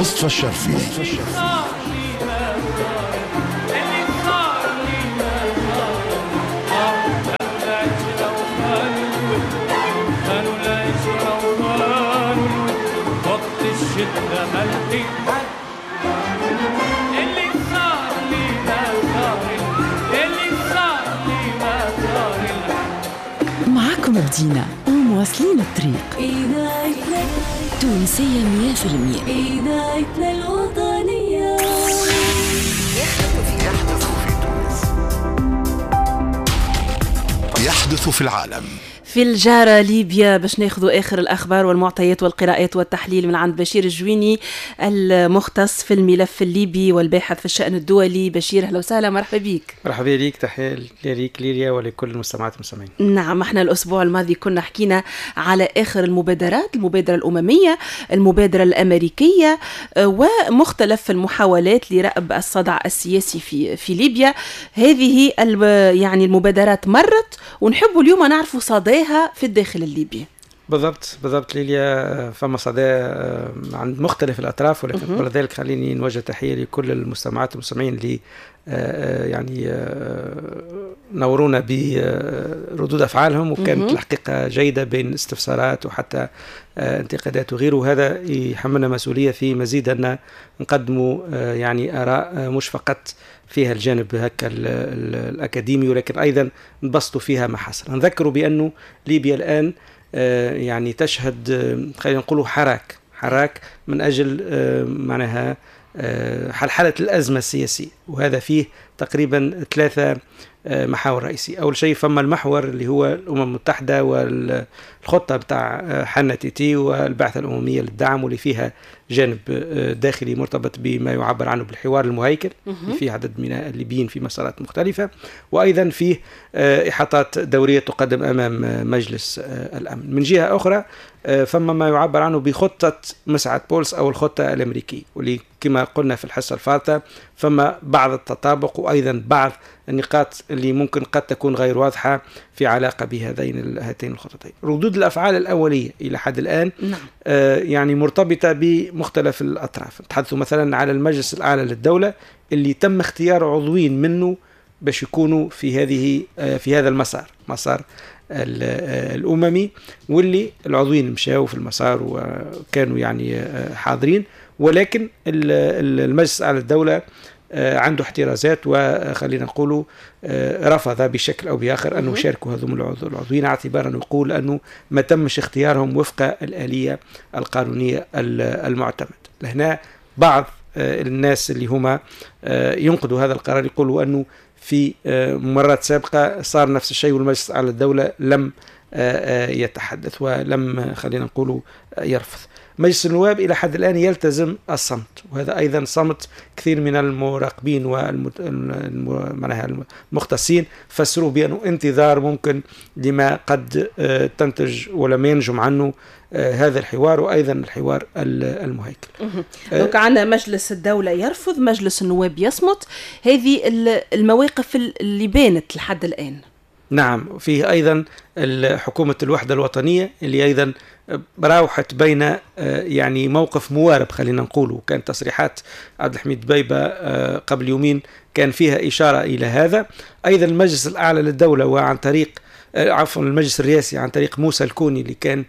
مصطفى الشرفي. معكم بدينا ومواصلين الطريق. إذاعتنا تونسية 100%. إذاعتنا الوطنية. يحدث في تونس، يحدث في العالم. في الجارة ليبيا باش ناخذوا آخر الأخبار والمعطيات والقراءات والتحليل من عند بشير الجويني المختص في الملف الليبي والباحث في الشأن الدولي. بشير أهلا وسهلا، مرحبا بك. مرحبا بك، تحية ليك ليليا ولكل المستمعات والمستمعين. نعم، احنا الأسبوع الماضي كنا حكينا على آخر المبادرات، المبادرة الأممية، المبادرة الأمريكية، ومختلف المحاولات لرأب الصدع السياسي في ليبيا. هذه يعني المبادرات مرت، ونحب اليوم نعرف صداها في الداخل الليبي. بالضبط بالضبط ليليا، فما صدى عند مختلف الأطراف، ولكن قبل ذلك خليني نوجه تحية لكل المستمعات والمستمعين اللي يعني نورونا بردود أفعالهم، وكانت الحقيقة جيدة بين استفسارات وحتى انتقادات وغيره، وهذا يحملنا مسؤولية في مزيد أن نقدموا يعني آراء مش فقط فيها الجانب هكا الأكاديمي، ولكن أيضا نبسطوا فيها ما حصل. نذكروا بأنه ليبيا الآن يعني تشهد خلينا نقولوا حراك من أجل معناها حلحلة الأزمة السياسية، وهذا فيه تقريبا 3 محاور رئيسية. أول شيء فما المحور اللي هو الأمم المتحدة والخطة بتاع حنا تيتي والبعثة الأممية للدعم، واللي فيها جانب داخلي مرتبط بما يعبر عنه بالحوار المهيكل اللي فيه عدد من الليبيين في مسارات مختلفة، وأيضا فيه إحاطات دورية تقدم أمام مجلس الأمن. من جهة أخرى فما ما يعبر عنه بخطة مسعد بولس أو الخطة الأمريكية، واللي كما قلنا في الحصة الفارطة فما بعض التطابق وأيضا بعض النقاط اللي ممكن قد تكون غير واضحة في علاقة بهذين هاتين الخطتين. ردود الأفعال الأولية إلى حد الآن نعم. يعني مرتبطة بمختلف الأطراف. نتحدث مثلا على المجلس الأعلى للدولة اللي تم اختيار عضوين منه باش يكونوا في هذه في هذا المسار، مسار الأممي، واللي العضوين مشاو في المسار وكانوا يعني حاضرين، ولكن المجلس الأعلى للدولة عنده احترازات، وخلينا نقولوا رفض بشكل أو بآخر أنه يشاركوا هذوم العضوين، اعتبارا أنه يقول أنه ما تمش اختيارهم وفق الآلية القانونية المعتمد. لهنا بعض الناس اللي هما ينقدوا هذا القرار يقولوا أنه في مرات سابقة صار نفس الشيء والمجلس على الدولة لم يتحدث ولم خلينا نقولوا يرفض. مجلس النواب إلى حد الآن يلتزم الصمت، وهذا أيضا صمت كثير من المراقبين والمختصين فسروا بأنه انتظار ممكن لما قد تنتج ولم ينجم عنه هذا الحوار، وأيضا الحوار المهيكل. donc عندنا مجلس الدولة يرفض، مجلس النواب يصمت، هذه المواقف اللي بانت لحد الآن. نعم، فيه أيضا حكومة الوحدة الوطنية اللي أيضا راوحت بين يعني موقف موارب خلينا نقوله. كانت تصريحات عبد الحميد بيبة قبل يومين كان فيها إشارة إلى هذا. أيضا المجلس الأعلى للدولة وعن طريق عفوا المجلس الرئاسي عن طريق موسى الكوني اللي كان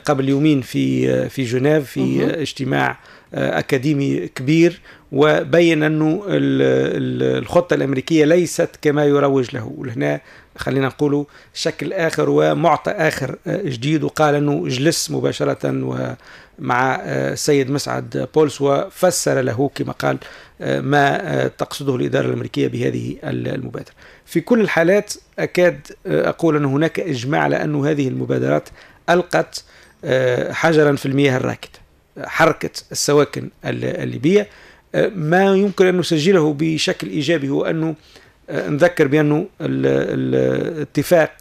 قبل يومين في جنيف في اجتماع أكاديمي كبير، وبين أنه الخطة الأمريكية ليست كما يروج له، ولهنا خلينا نقولوا شكل آخر ومعطى آخر جديد، وقال أنه جلس مباشرة ومع السيد مسعد بولس وفسر له كما قال ما تقصده الإدارة الأمريكية بهذه المبادرة. في كل الحالات أكاد أقول أن هناك إجماع على أن هذه المبادرات ألقت حجرا في المياه الراكدة، حركة السواكن الليبية. ما يمكن أن نسجله بشكل إيجابي هو أنه نذكر بأنه الاتفاق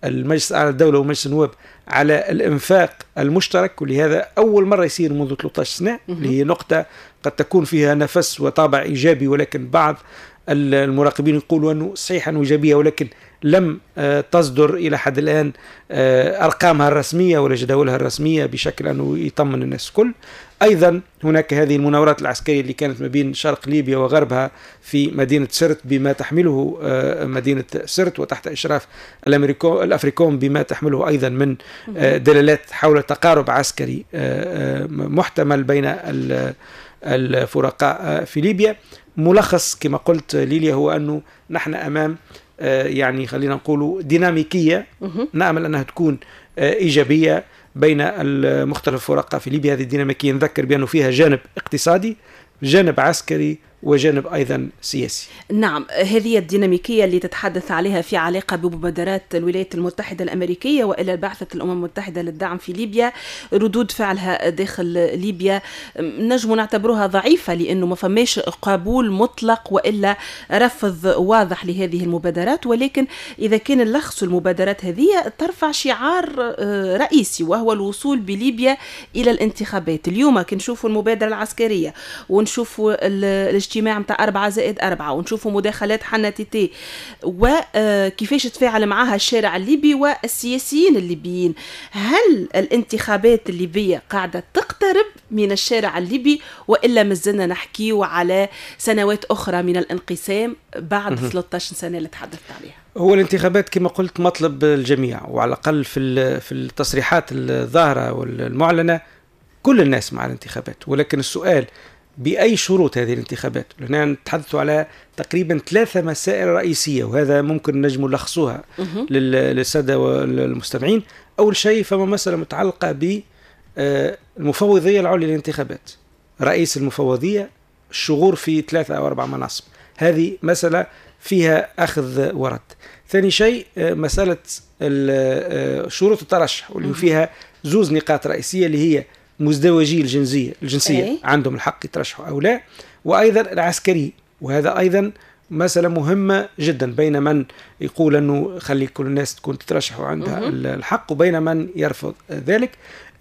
المجلس الأعلى للدولة ومجلس النواب على الإنفاق المشترك، ولهذا أول مرة يصير منذ 13 سنة، اللي هي نقطة قد تكون فيها نفس وطابع إيجابي، ولكن بعض المراقبين يقولوا أنه صحيح أنه إيجابية ولكن لم تصدر إلى حد الآن أرقامها الرسمية ولا جداولها الرسمية بشكل أنه يطمن الناس الكل. أيضا هناك هذه المناورات العسكرية اللي كانت ما بين شرق ليبيا وغربها في مدينة سرت بما تحمله مدينة سرت وتحت إشراف الأفريكوم بما تحمله أيضا من دلالات حول تقارب عسكري محتمل بين الفرقاء في ليبيا. ملخص كما قلت ليليا هو أنه نحن أمام يعني خلينا نقول ديناميكية نأمل أنها تكون إيجابية بين المختلف الفرقاء في ليبيا. هذه الديناميكية نذكر بأنه فيها جانب اقتصادي، جانب عسكري، وجانب أيضا سياسي. نعم، هذه الديناميكية اللي تتحدث عليها في علاقة بمبادرات الولايات المتحدة الأمريكية وإلى بعثة الأمم المتحدة للدعم في ليبيا، ردود فعلها داخل ليبيا نجم نعتبرها ضعيفة لأنه ما فماش قبول مطلق وإلا رفض واضح لهذه المبادرات، ولكن إذا كان نلخص المبادرات هذه ترفع شعار رئيسي وهو الوصول بليبيا إلى الانتخابات. اليوم كي نشوفوا المبادرة العسكرية ونشوفوا الاجتماع متاع 4+4 ونشوفوا مداخلات حنا تيتي وكيفاش تفاعل معها الشارع الليبي والسياسيين الليبيين، هل الانتخابات الليبية قاعدة تقترب من الشارع الليبي وإلا مازلنا نحكيو على سنوات أخرى من الانقسام بعد 13 سنة اللي تحدثت عليها؟ هو الانتخابات كما قلت مطلب الجميع، وعلى الأقل في التصريحات الظاهرة والمعلنة كل الناس مع الانتخابات، ولكن السؤال بأي شروط هذه الانتخابات؟ هنا نتحدث على تقريبا 3 مسائل رئيسية، وهذا ممكن نجم نلخصوها للسادة والمستمعين. أول شيء فما مسألة متعلقة بالمفوضية العليا للانتخابات، رئيس المفوضية، الشغور في 3 أو 4 مناصب، هذه مسألة فيها أخذ ورد. ثاني شيء مسألة شروط الترشح واللي فيها 2 نقاط رئيسية اللي هي مزدوجي الجنسية أي. عندهم الحق يترشحوا أو لا، وأيضا العسكري، وهذا أيضا مسألة مهمة جدا بين من يقول أنه خلي كل الناس تكون تترشح وعندها الحق وبين من يرفض ذلك.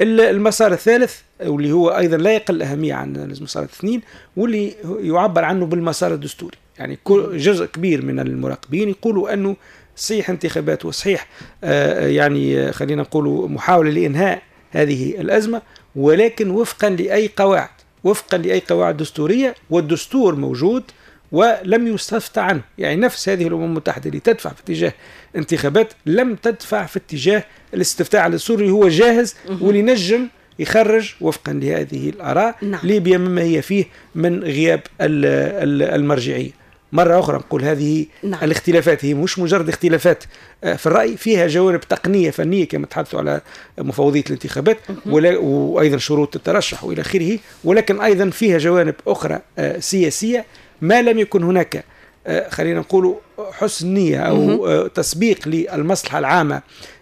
المسار الثالث واللي هو أيضا لا يقل أهمية عن المسار الاثنين واللي يعبر عنه بالمسار الدستوري، يعني جزء كبير من المراقبين يقولوا أنه صحيح انتخابات وصحيح يعني خلينا نقولوا محاولة لإنهاء هذه الأزمة، ولكن وفقا لأي قواعد، وفقا لأي قواعد دستورية، والدستور موجود ولم يستفتى عنه. يعني نفس هذه الأمم المتحدة اللي تدفع في اتجاه انتخابات لم تدفع في اتجاه الاستفتاء على الدستور اللي هو جاهز واللي نجم يخرج وفقا لهذه الآراء. نعم. ليبيا مما هي فيه من غياب المرجعية. مرة أخرى نقول هذه نعم. الاختلافات هي مش مجرد اختلافات في الرأي، فيها جوانب تقنية فنية كما تحدثوا على مفوضية الانتخابات وأيضا شروط الترشح وإلى آخره، ولكن أيضا فيها جوانب أخرى سياسية. ما لم يكن هناك خلينا نقول حسن نية أو تسبيق للمصلحة العامة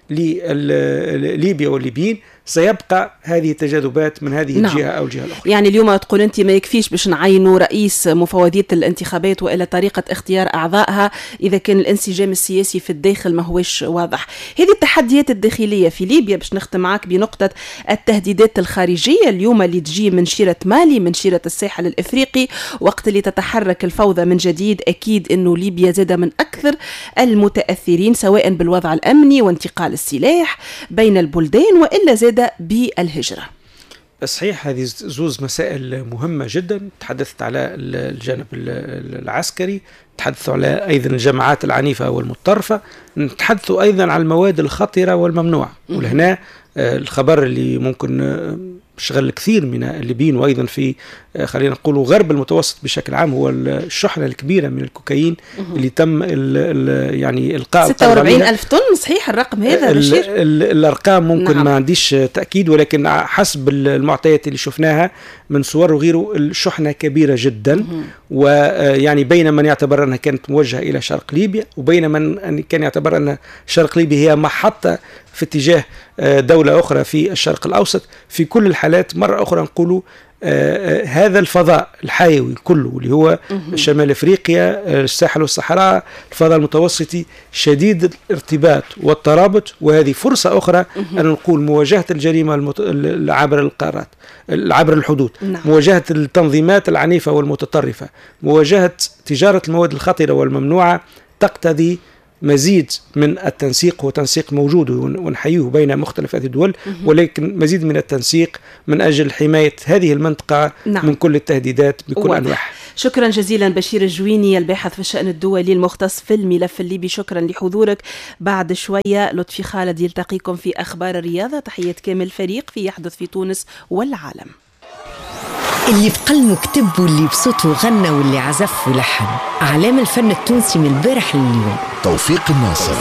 لليبيا والليبيين سيبقى هذه التجاذبات من هذه نعم. الجهة أو الجهة الأخرى. يعني اليوم تقول أنت ما يكفيش باش نعينوا رئيس مفوضية الانتخابات وإلى طريقة اختيار أعضائها إذا كان الانسجام السياسي في الداخل ما هوش واضح. هذه التحديات الداخلية في ليبيا. باش نختم معك بنقطة التهديدات الخارجية اليوم اللي تجي من شيرة مالي، من شيرة الساحل الإفريقي، وقت اللي تتحرك الفوضى من جديد أكيد أنه ليبيا زاد من أكثر المتأثرين سواء بالوضع الأمني وانتقال السلاح بين البلدان وإلا زاد بالهجرة. صحيح، هذه زوز مسائل مهمة جدا. تحدثت على الجانب العسكري، تحدثوا على أيضا الجماعات العنيفة والمتطرفة، نتحدثوا أيضا على المواد الخطرة والممنوعة. ولهنا الخبر اللي ممكن شغل كثير من الليبيين وأيضا في خلينا نقول غرب المتوسط بشكل عام هو الشحنة الكبيرة من الكوكايين اللي تم يعني إلقاء 46,000 طن. صحيح الرقم هذا بشير؟ الأرقام ممكن نعم. ما عنديش تأكيد، ولكن حسب المعطيات اللي شفناها من صور وغيره الشحنة كبيرة جدا. ويعني بين من يعتبر أنها كانت موجهة إلى شرق ليبيا وبين من كان يعتبر أن شرق ليبيا هي محطة في اتجاه دولة أخرى في الشرق الأوسط. في كل الحالات مرة أخرى نقول هذا الفضاء الحيوي كله اللي هو شمال أفريقيا، الساحل والصحراء، الفضاء المتوسطي شديد الارتباط والترابط، وهذه فرصة أخرى أن نقول مواجهة الجريمة عبر القارات، عبر الحدود، نعم. مواجهة التنظيمات العنيفة والمتطرفة، مواجهة تجارة المواد الخطرة والممنوعة تقتضي مزيد من التنسيق، هو تنسيق موجود ونحييه بين مختلف هذه الدول، ولكن مزيد من التنسيق من أجل حماية هذه المنطقة من كل التهديدات بكل أنواعها. شكرا جزيلا بشير الجويني الباحث في الشأن الدولي المختص في الملف الليبي، شكرا لحضورك. بعد شوية لطفي خالد يلتقيكم في أخبار الرياضة. تحية كامل الفريق في يحدث في تونس والعالم. اللي بقلمه كتب واللي بصوته غنى واللي عزف ولحن، أعلام الفن التونسي من البارح لليوم. توفيق الناصر.